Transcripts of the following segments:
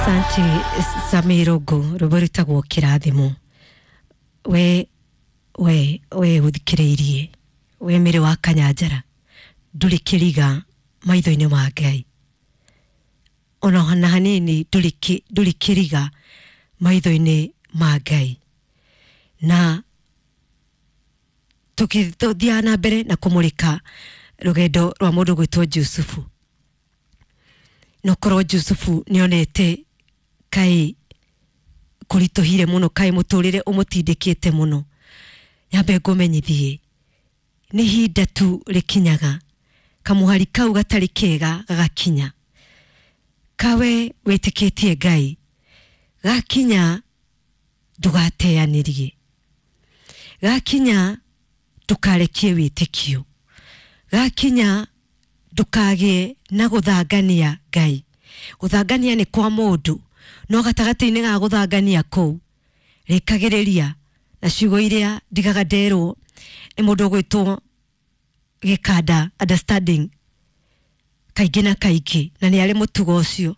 Asante Samirogo rwĩmbo rwĩtagwo kĩrathimo. We we we ũthikĩrĩirie we mĩrĩ wa Kanyanjara, ndũrĩ kĩriga maitho-inĩ ma Ngai, ona na hanini ndũrĩ kĩriga maitho-inĩ ma Ngai. Na tũgĩthiaga na mbere na kũmũrĩka rũgendo rwa mũndũ gwĩtwo Jusufu, no korwo Jusufu nĩonete kaĩ kũritũhire mũno, kaĩ mũtũrĩre ũmũtindĩkĩte mũno, nyambe ngũmenyithie nĩ ihinda tu rĩkinyaga kamũhari kau gatarĩ kega gagakinya. Kawe wĩtĩkĩtie Ngai, gakinya ndũgateanĩrie, gakinya ndũkarekie wĩtĩkio, gakinya ndũkagĩe na gũthangania Ngai. Gũthangania nĩ kwa mũndũ, no gatagatĩ-inĩ ga gũthangania kũu rĩkagĩrĩria na ciugo iria ndigaga nderwo nĩ mũndũ ũgwĩtwo Gĩkanda understanding kaingĩ na kaingĩ, na nĩ arĩ mũtugo ũcio,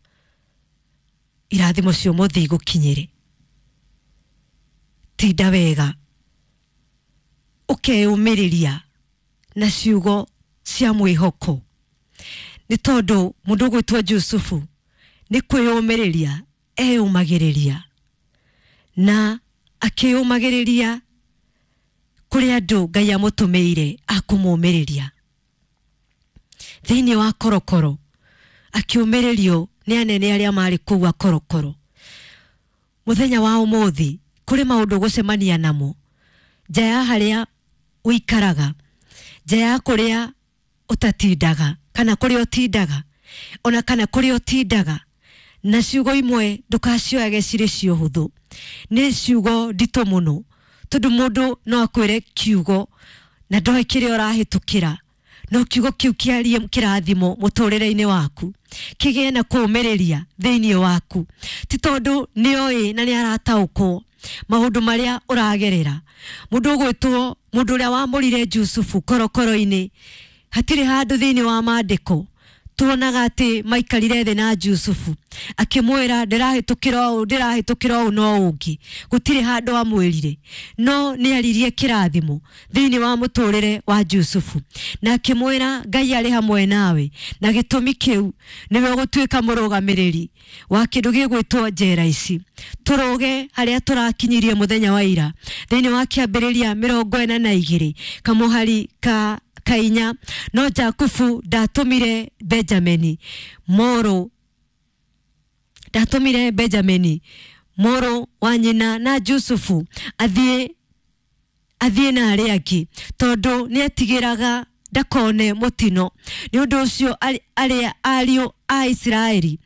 irathimo cia ũmũthĩ igũkinyĩre. Tinda wega ũkeyũmĩrĩria na ciugo cia mwĩhoko, nĩ tondũ mũndũ ũgwĩtwo Jusufu nĩ kwĩyũmĩrĩria eyũmagĩrĩria, na akĩyũmagĩrĩria kũrĩ andũ Ngai amũtũmĩire akũmũmĩrĩria. Thĩinĩ wa korokoro akĩũmĩrĩrio nĩ anene arĩa marĩ kũu a korokoro. Mũthenya wa ũmũthĩ kũrĩ maũndũ ũgũcemania namo nja ya harĩa ũikaraga, nja ya kũrĩa ũtatindaga kana kũrĩa ũtindaga, ona kana kũrĩa ũtindaga, na ciugo imwe ndũkacioyage cirĩ cia ũhũthũ, nĩ ciugo nditũ mũno, tondũ mũndũ no akwĩre kiugo na ndoĩ kĩrĩa ũrahĩtũkĩra, no kiugo kĩu kĩarie kĩrathimo mũtũrĩre-inĩ waku, kĩgĩe na kũũmĩrĩria thĩinĩ waku, ti tondũ nĩoĩ na nĩ arataũkwo maũndũ marĩa ũragerera. Mũndũ ũgwĩtwo mũndũ ũrĩa wamũrire Jusufu korokoro-inĩ, hatirĩ handũ thĩinĩ wa maandĩko tuonaga atĩ maikarire thĩ na Jusufu akĩmwĩra ndĩrahĩtũkĩra ũũ, ndĩrahĩtũkĩra ũũ no ũngĩ, gũtirĩ handũ amwĩrire, no nĩ aririe kĩrathimo thĩinĩ wa mũtũrĩre wa Jusufu na akĩmwĩra Ngai arĩ hamwe nawe, na gĩtũmi kĩu nĩwe ũgũtuĩka mũrũgamĩrĩri wa kĩndũ gĩgwĩtwo njera ici. Tũrũge harĩa tũrakinyirie mũthenya wa ira thĩinĩ wa kĩambĩrĩria 42 kamũhari ka kainya, no Jakubu ndatũmire Benjamini mũrũ, ndatũmire Benjamini mũrũ wa nyina na Jusufu athiĩ na arĩa angĩ, tondũ nĩetigĩraga ndakone mũtino. Nĩ ũndũ ũcio arĩa ariũ a Isiraeli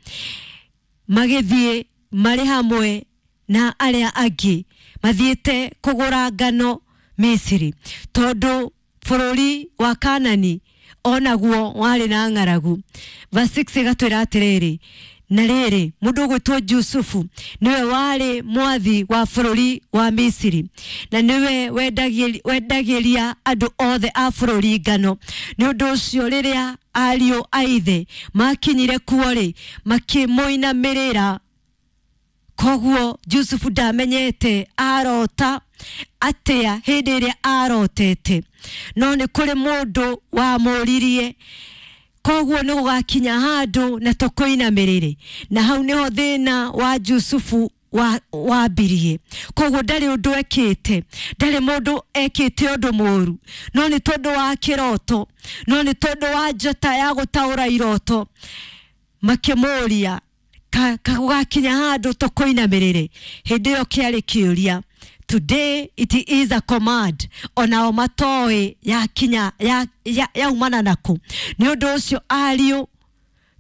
magĩthiĩ marĩ hamwe na arĩa angĩ mathiĩte kũgũra ngano Misiri, tondũ bũrũri wa Kanani onaguo warĩ na ng'aragu. Verse 6 ĩgatwĩra atĩrĩrĩ, na rĩrĩ mũndũ ũgwĩtwo Jusufu nĩwe warĩ mwathi wa bũrũri wa Misiri, na nĩwe wendagĩria andũ othe a bũrũri ngano. Nĩ ũndũ ũcio rĩrĩa ariũ a ithe makinyire kuo rĩ, makĩmũinamĩrĩra. Koguo Jusufu ndamenyete arota atĩa hĩndĩ ĩrĩa arotete, no nĩ kũrĩ mũndũ wamũririe. Koguo nĩ gũgakinya handũ na tũkũinamĩrĩre, na hau nĩho thĩna wa Jusufu wambirie. Koguo ndarĩ ũndũ ekĩte, ndarĩ mũndũ ekĩte ũndũ mũru, no nĩ tondũ wa kĩroto, no nĩ tondũ wa njata ya gũtaũra iroto, makĩmũria gũgakinya handũ tũkũinamĩrĩre. Hĩndĩ ĩyo kĩarĩ kĩũria. Today it is a command, onao matoĩ yakinya yaumana naku. Nĩ ũndũ ũcio ariũ,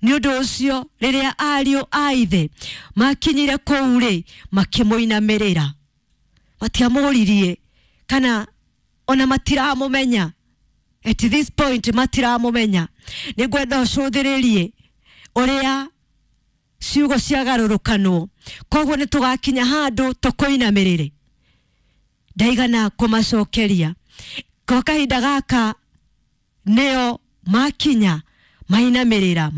nĩ ũndũ ũcio rĩrĩa ariũ a ithe makinyire kũu rĩ, makĩmũinamĩrĩra. Matiamũririe kana ona matiramũmenya. At this point matiramũmenya. Nĩ ngwenda ũcũthĩrĩrie ũrĩa ciugo ciagarũrũkanwo. Koguo nĩ tũgakinya handũ tũkũinamĩrĩre. Ndaigana kũmacokeria. Kwa kahinda gaka nĩo makinya mainamĩrĩra.